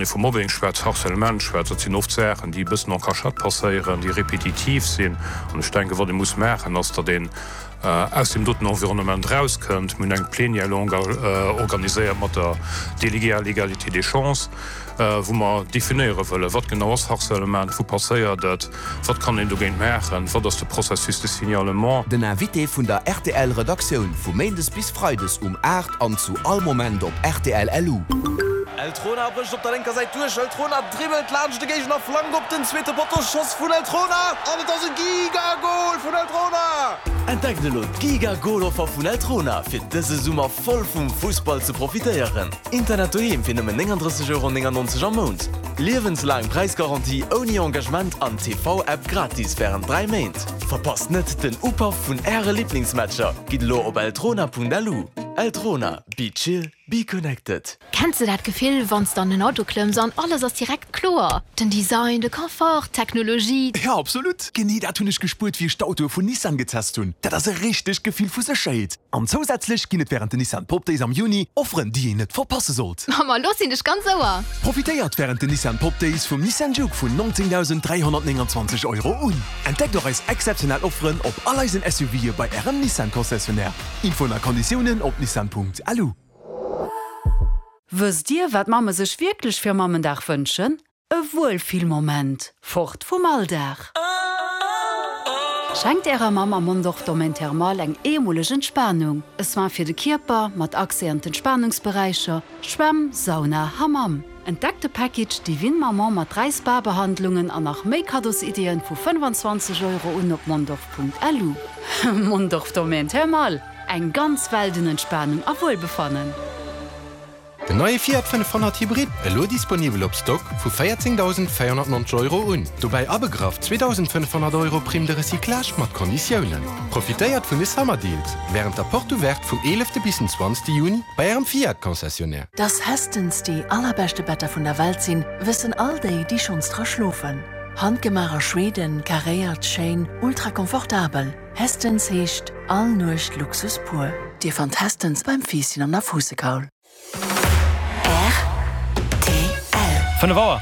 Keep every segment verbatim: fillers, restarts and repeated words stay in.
Wann ee vu Mobbing schwätzt, Harcèlement schwätzt, dat sinn oft Saachen, déi e bëssen en cachette passéieren, déi repetitiv sinn. An ech denken, wat ee muss maachen, ass, datt een aus deem doten Environnement erauskënnt. Mir hunn eng Plénière longue organiséiert mat der Déléguée à l'égalité des chances, wou mer definéiere wëllen, wat genau ass Harcèlement, wou passéiert et, wat kann een dogéint maachen, wat ass de Processus de signalement. Den Invité vun der rtl Redaktioun vu Méindes bis Freides um aacht an zu all Moment op rtl Lu. Eltrona brécht op der lénker Säit duerch, Eltrona dribbelt laanscht de Géigner, Flank op den zweete Potto, Schoss vun Eltrona an et ass e Giga-Gol vun Eltrona! Entdeckt elo d'Giga-Gol-Offer vun Eltrona fir dëse Summer voll vum Fussball ze profitéieren. Internet doheem fir nëmmen néngandrësseg Euro néngannonzeg am Mount, liewenslaang Präisgarantie ouni Engagement an T V-App gratis wärend dräi Méint. Verpasst net den Upaff vun Äre Liblingsmatcher! Gitt elo op eltrona.lu. Eltrona, be chill, be connected. Kenns de dat Gefill, wann s de an den Auto klëmms an alles ass direkt kloer? Den Design, de Confort, d'Technologie. Jo, absolut! Genee dat hunn ech gespuert, wéi ech d'Autoe vun Nissan getest hunn. Dat ass e richtegt Gefill vu Sécherheet. An zousätzlech ginn et wärend den Nissan Pop Days am Juni Offeren, déi een net verpasse sollt. Ma lo sinn ech ganz Ouer! Profitéiert wärend den Nissan Pop Days vum Nissan Juke vun neunzéngdausend dräihonnertnénganzwanzeg Euro un. Entdeckt och eis exzeptionell Offeren op all eisen S U V'e bei Ärem Nissan-Concessionnaire. Infoen a Konditiounen op nissan Punkt L U. Wësst Dir, wat Mamme sech wierklech fir Mammendag wënschen? E Wuelfillmoment, fort vum Alldag. Schenkt Ärer Mamm am Mondorf Domaine Thermal eng eemoleg Entspanung. E Soin fir de Kierper, mat Accès an d'Entspanungsberäicher, Schwämm, Sauna, Hammam. Entdeckt de Package Divine Maman mat dräi Spa-Behandlungen an nach méi Kaddosideeën vu fënnefanzwanzeg Euro un op mondorf Punkt L U. Mondorf Domaine Thermal, eng ganz Welt un Entspanung a Wuelbefannen. Den neie Fiat fënnefhonnert Hybrid, elo disponibel op Stock vu véierzéngdausendvéierhonnertnonzeg Euro un. Dobäi abegraff zweedausendfënnefhonnert Euro Prime de recyclage mat Konditiounen. Profitéiert vun de Summer Deals wärend der Porte Ouverte vum eelefte bis den zwanzegste Juni bei Ärem Fiat Concessionnaire. Dass Hästens déi allerbeschte Better vun der Welt sinn, wëssen all déi, déi schonns dra schlofen. Handgemaach a Schweden, karéiert, schéin, ultra komfortabel. Hästens heescht all Nuecht Luxus pur. Dir fannt Hästens beim Fiisschen an der Fuussekaul. Fënnef Auer.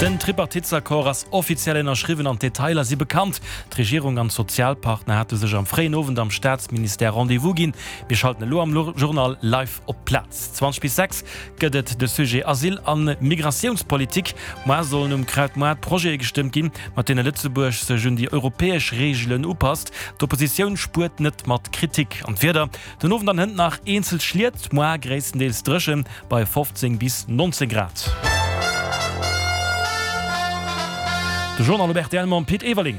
Den Tripartitesaccord ass offiziell ënnerschriwwen an d'Detailer si bekannt. D'Regierung an d'Sozialpartner hate sech am fréien Owend am Staatsministère Rendez-vous ginn. Mir schalten elo am Journal live op d'Plaz. Zwanzeg bis sechs gëtt et de Sujet Asyl a Migratiounspolitik. Moar sollen um Krautmoart Projete gestëmmt ginn, mat deene Lëtzebuerg sech un déi europäesch Reegelen upasst. D'Oppositioun spuert net mat Kritik. An d'Wieder, Den Owend an hënt nach eenzel Schliet, moar gréisstendeels dréchen bei fofzéng bis nonzéng Grad. De Journal op rtl mam Pit Everling.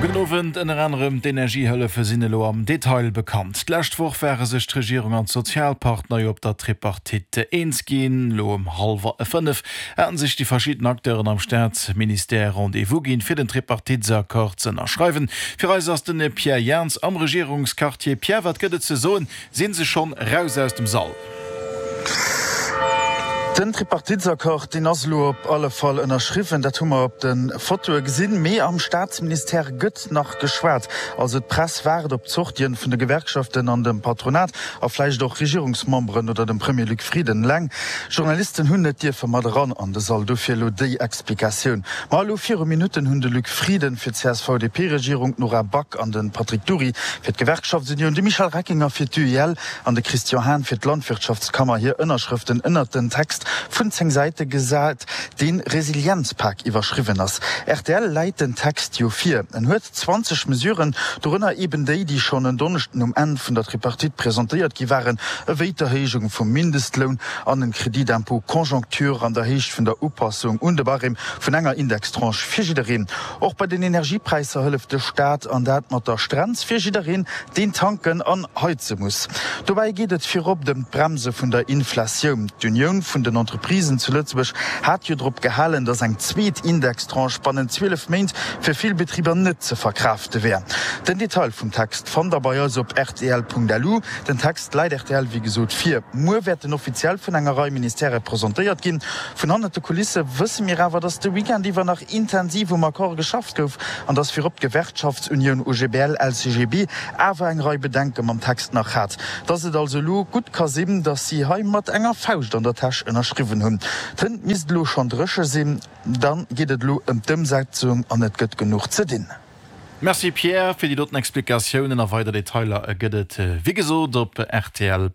Gudden Owend. Ënner anerem d'Energiehëllefe sinn elo am Detail bekannt. D'lescht Woch ware sech d'Regierung an d'Sozialpartner jo op der Tripartite eens ginn. Elo ëm hallwer fënnef haten sech déi verschidden Acteuren am Staatsministère Rendez-vous ginn, fir den Tripartitesaccord z'ënnerschreiwen. Fir eis ass den Pierre Jans am Regierungsquartier. Pierre, wat gëtt et ze soen? Sinn se schonn raus aus dem Sall? Den Tripartitesaccord, deen ass elo op alle Fall ënnerschriwwen, dat hu mer op de Fotoe gesinn. Mee am Staatsministère gëtt nach geschwat. Also d'Press waart op d'Sortien vun de Gewerkschaften an dem Patronat a vläicht och Regierungsmemberen oder dem Premier Luc Frieden. Eleng Journalisten hunn net dierfe mat eran an de Sall. Dofir elo déi Explikatioun. Ma elo viru Minutten hunn de Luc Frieden fir d'C S V D P-Regierung, d'Nora Back an de Patrick Dury fir d'Gewerkschaftsunioun, de Michel Reckinger fir d'U I L an de Christian Hahn fir d'Landwirtschaftskammer hir Ënnerschrëften ënnert den Text vun zéng Säite gesat, dee Resilienzpak iwwerschriwwen ass. Rtl läit den Text jo vir. En huet zwanzeg Mesuren, dorënner eben déi, déi schonn en Donneschden um Enn vun der Tripartite presentéiert gi waren, ewéi d'Erhéijung vum Mindestloun an en Crédit d'impôt conjoncture an der Héicht vun der Upassung un de Barème vun enger Indextranche fir jiddereen. Och bei den Energiepräisser hëlleft de Staat, an dat mat der Strenz fir jiddereen, deen tanken an heize muss. Dobäi geet et virop ëm d'Bremse vun der Inflatioun. D'Unioun vun den Entreprisen zu Lëtzebuerg hat jo drop gehalen, datt eng zweet Indextranche bannent zwielef Méint fir vill Betriber net ze verkraafte wär. Den Detail vum Text fannt der bei eis op rtl Punkt L U. Den Text läit rtl wéi gesot vir. Muer wäert en offiziell vun enger Rei Ministèrë presentéiert ginn. Vun hannert de Kulisse wësse mir awer, datt de Weekend iwwer nach intensiv um Accord geschafft gouf an datt virop d'Gewerkschaftsunioun O G B L L C G B awer eng Rei Bedenke mam Text nach hat. Datt et also elo gutt ka sinn, datt si hei mat enger Fauscht an der Täsch ënnerschreiwen. ënnerschriwwen hunn. D'Tënt misst elo schonn dréche sinn. Dann geet et elo ëm d'Ëmsetzung an et gëtt genuch ze dinn. Merci Pierre fir déi doten Explikatiounen a weider Detailer gëtt et wéi gesot op rtl.